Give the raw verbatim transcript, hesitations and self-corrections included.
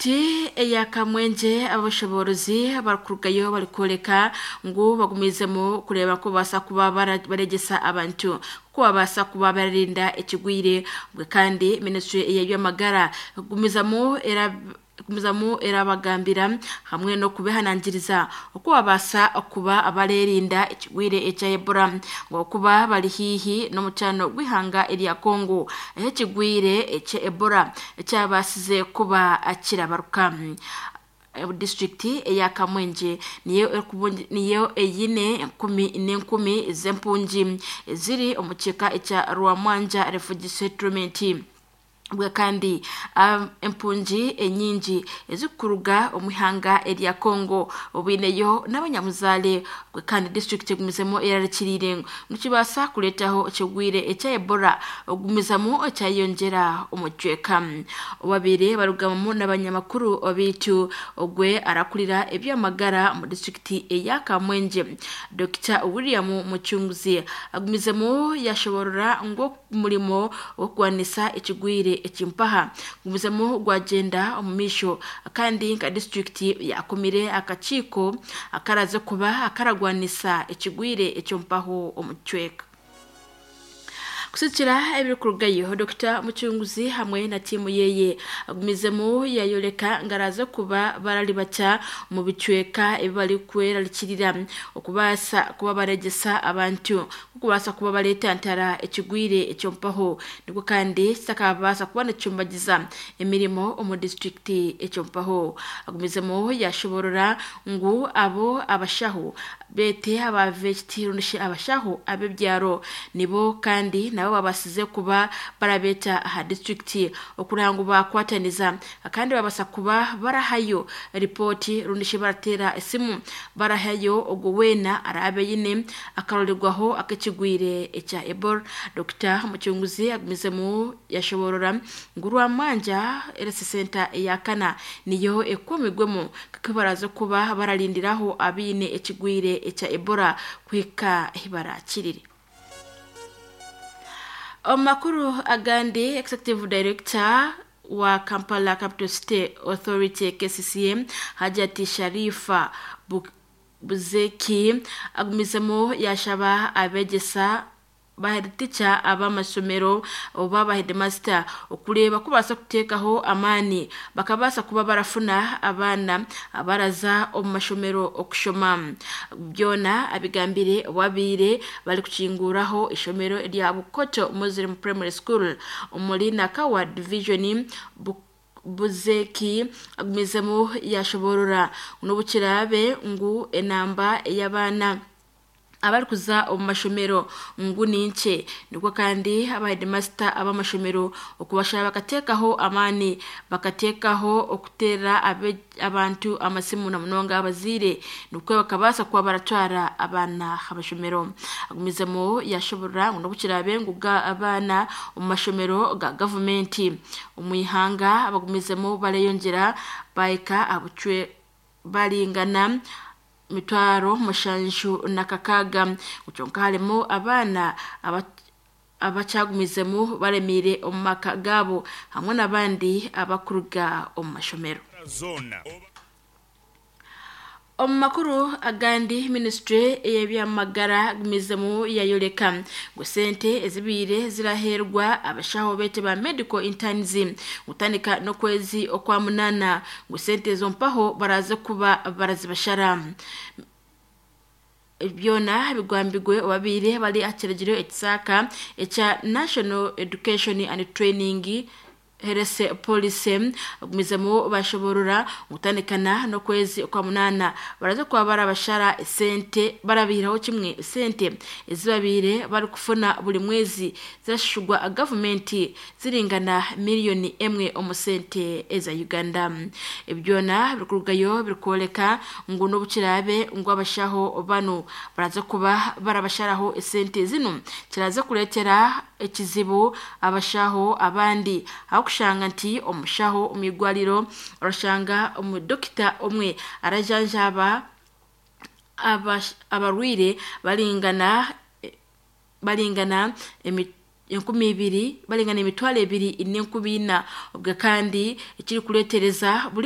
Disitulikiti eya Kamwengye abashoboorozi barikurugayo barikworeka ngu bagumizemu kureeba ku babaasa kuba baregyesa abantu ku babaasa kuba bararinda ekigwire obwe kandi minisitule ey'ebyamagara ekugumizamu ekugumizamu erabagambira hamwe n'okubehanangiriza oku babaasa kuba bareerinda ekigwire ekya Ebola ahabw'okuba bari haihi n'omutaano gw'eihanga erya Congo ahu ekigwire ekya Ebola kyabaasize kuba kirabaruka. Disitulikiti eya Kamwengye niyo niyo eine enkumi n'enkumi z'empungi eziri omu kika ekya Rwamwanja Refugee Settlement. Obwe kandi empungi enyingi ezirikuruga omu ihanga erya Congo obaineyo n'abanyabuzaare obwe kandi disitulikiti egumizemu erarikiriire ngu nikibaasa kureetaho ekigwire ekya Ebola okugumizamu kyayeyongyera omu kicweka. Obabaire barugamu n'abanyamakuru baitu ogwe arakurira eby'amagara omu disitulikiti eya Kamwengye Dokita William Mucunguzi agumizemu yashoborora ngu omurimo gw'okurwanisa ekigwire ekimpaha gumizemu gwagenda omu maisho kandi nka disitulikiti yakomire akakiiko akaraze kuba akaragwanisa ekigwire ekyompaho omu kicweka. Kusikira ebirikurugayo Dokita Mucunguzi hamwe na tiimu yeye agumizemu yayoreka ngu araza kuba bararibata omu bicweka ebi barikwerarikirira okubaasa kuba baregyesa abantu okubaasa kuba bareetantara ekigwire ekyompaho nikwo kandi kitakabaasa kuba nikicumbagiza emirimo omu disitulikiti ekyompaho. Agumizemu yashoborora ngu abo abashaho beete aba V H T rundi abashaho ab'ebyaro nibo kandi nabo babaasize kuba barabeeta aha disitulikiti okureba ngu bakwataniza kandi babaasa kuba barahayo ripooti rundi barateera esimu barahayo ogwo weena araabe aine akarorerwaho ak'ekigwire ekya Ebola. Dokita Mucunguzi agumizemu yashoborora ngu Rwamwanja Health Centre eya kana niyo ekumirwemu kuko baraza kuba bararindiraho abaine ekigwire ekya Ebola kuhika ahi barakirire. Omu makuru agandi, Executive Director wa Kampala Capital City Authority K C C A Hajati Sharifa Buzeki agumizemu yashaba abegyesa ba head teacher ab'amashomero oba ba headmaster okureeba ku babaasa kuteekaho amaani bakabaasa kuba barafuna abaana abaraza omu mashomero okushoma. Byona abigambire obu bari kukinguraho ishomero rya Bukoto Muslim Primary School omuri Nakawa Division. Buzeki agumizemu yashoborora n'obu kiraabe ngu enamba ey'abaana abarikuza omu mashomero ngu ni nkye, nikwo kandi aba headmaster ab'amashomero okubashaba bakateekaho amaani bakateekaho okuteera abantu amasimu na munonga abazaire nikwo bakabaasa kuba baratwara abaana aha mashomero. Agumizemu yashoborora ngu n'obu kiraabe ngu abaana omu mashomero ga gavumenti omu ihanga bagumizemu bareyongyera bahika aha bucwe baringana mitwaro mushanju na kakaaga, kyonka harimu abaana abakyagumizemu baremiire omu maka gaabo hamwe n'abandi abakuruga omu mashomero. Omu makuru agandi, minisitule ey'ebyamagara agumizemu yayoreka ngu sente ezibaire ziraheerwa abashaho beete ba medical interns kutandika n'okwezi okwa munaana ngu sente ezo mpaho baraze kuba barazibashara. Byona bigambirwe obabaire bari aha kiragiro ekisaaka ekya National Education and Training Health Policy bagumizemu bashoborora kutandikana n'okwezi okwa munaana baraza kuba barabashara esente barabihiraho kimwe esente ezibabaire barikufuna buri mwezi zirashishurwa gavumenti ziringana miliyoni emwe omu sente eza Uganda. Byona birikurugayo birikworeka ngu n'obu kiraabe ngu abashaho banu baraza kuba barabasharaho esente zinu, kiraza kureetera ekizibu abashaho abandi ahakushanga nti omushaho omu igwariro orashanga omudokita omwe arajanjaba abarwaire baringana baringana enkumi ibiri baringana emitwaro ebiri n'enkumi ina obwe kandi ekirikureetereza buri